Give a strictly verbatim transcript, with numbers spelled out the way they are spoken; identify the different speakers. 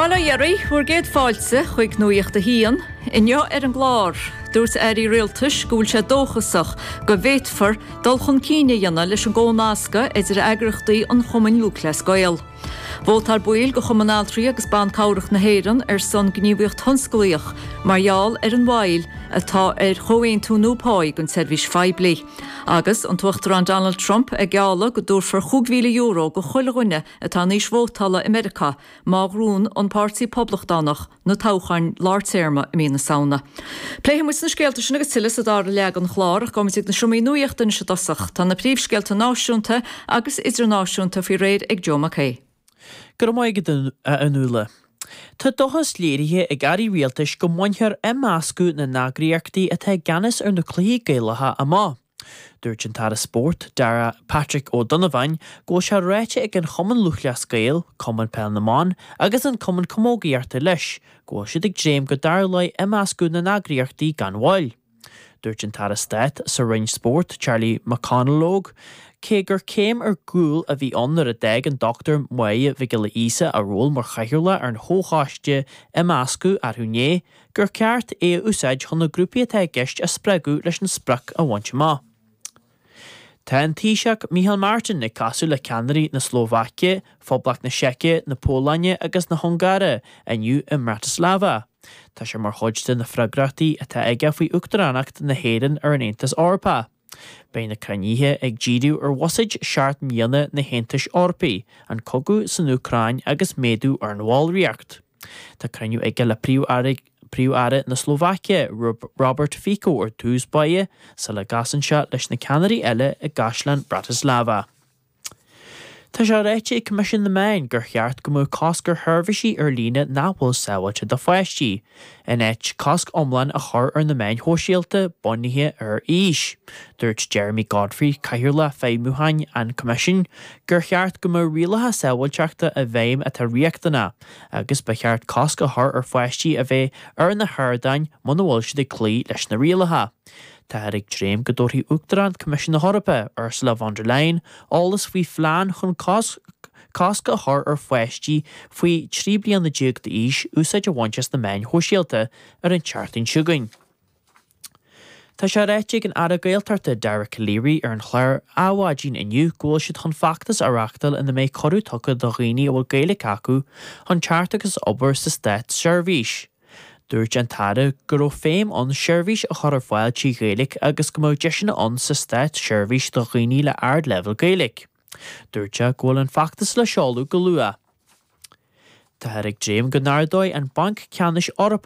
Speaker 1: Bail ó Dhia oraibh, bhur gcéad fáilte chuig Nuacht a hAon, inniu ar an gclár, dúirt airí rialtais go bhfuil sé dóchasach go bhféadfar dul chun cinn a dhéanamh leis an gcónascadh idir eagraíochtaí an Chumainn Lúthchleas Gael. Vótáil baill de Chumann Altraí agus Ban Cabhrach na hÉireann ar son gníomhaíocht thionsclaíoch mar gheall ar an mhoill atá ar chomhaontú nua páí don tseirbhís phoiblí. Agus an tUachtarán Donald Trump ag gealladh go dtabharfar cúig mhíle euro do chuile dhuine atá in aois vótála i Meiriceá má ghnóthaíonn an Páirtí Poblachtánach na toghcháin lártéarma i mí na Samhna. Pléifidh muid na scéalta sin agus tuilleadh sa dara leath den chlár ach gabhfaimid ag na seomraí nuachta anois i dtosach. Tá na príomhscéalta náisiúnta agus idirnáisiúnta faoi réir ag Joe McKay.
Speaker 2: Go raibh maith agat a Fhionnuala. Tá dóchas léirithe ag airí rialtais go mbainfear imeascadh na n-eagraíochtaí atá i gceannas ar na cluichí Gaelacha amach. Dúirt an tAire Spóirt, Darragh Patrick Ó Donnabháin, go bhfuil sé ráite ag an Chumann Lúthchleas Gael, Cumann Peil na mBan agus an Cumann Camógaíochta leis, go bhfuil siad ag dréim go dtarlóidh imeascadh na n-eagraíochtaí gan mhoill. Dúirt an tAire Stáit sa Roinn Spóirt, Charlie McConalogue, cé gur céim ar gcúl a bhí ann nuair a d'fhág an Dr Máire Mhic Giolla Íosa a ról mar chathaoirleach ar an chomhchoiste imeascadh arú inné, gur ceart é a úsáid chun na grúpaí atá i gceist a spreagadh leis an sprioc a bhaint amach. Tá an Taoiseach Micheál Martin ag casadh le ceannairí na Slóvaice, Phoblacht na Seice, na Polainne agus na hUngáire inniu i mBratislava. Tá sé mar chuid de na freagrachtaí atá aige faoi Uachtaránacht na hÉireann ar an Aontas Eorpach. Beidh na cruinnithe ag díriú ar bhuiséad seacht mbliana na hAontais Eorpaigh, an cogadh san Úcráin agus méadú ar an bhallraíocht. Tá cruinniú aige le príomh-aire Príomh-Aire na Slóvaice, Robert Fico ar dtús báire, sula gcasann sé leis na ceannairí eile i gCaisleán Bratislava. Tá sé ráite ag Coimisiún na Meán gur cheart go mbeadh cosc ar sheirbhísí ar líne nach bhfuil sábháilte do pháistí, in áit cosc iomlán a chur ar na meáin shóisialta bunaithe ar aois. Dúirt Jeremy Godfrey cathaoirleach feidhmiúcháin an Choimisiúin gur cheart go mbeadh rialacha sábháilteachta i bhfeidhm atá riachtanach, agus ba cheart cosc a chur ar pháistí a bheith ar na hardáin muna bhfuil siad ag cloí leis na rialacha. Táthar ag dréim go dtabharfaidh Uachtarán Coimisiún na hEorpa, Ursula von der Leyen, eolas faoi phlean chun cosc a chur ar pháistí faoi trí bliana déag d'aois úsáid a bhaint as na meáin shóisialta ar an tseachtain seo chugainn. Tá sé ráite ag an Aire Gaeltachta Dara Calleary ar an chlár Adhmhaidin inniu go bhfuil siad chun feachtas a reáchtáil ina mbeidh cuireadh tugtha do dhaoine a bhfuil Gaeilge acu chun teacht agus obair sa státseirbhís. Dúirt an tAire go raibh feidhm ann seirbhís a chur ar fáil trí Ghaeilge agus go mbeadh deiseanna ann sa státseirbhís do dhaoine le ardleibhéal Gaeilge. Dúirt sé go bhfuil an feachtas le seoladh go luath. Táthar ag dréim go n-ardóidh an Banc Ceannais Eorpach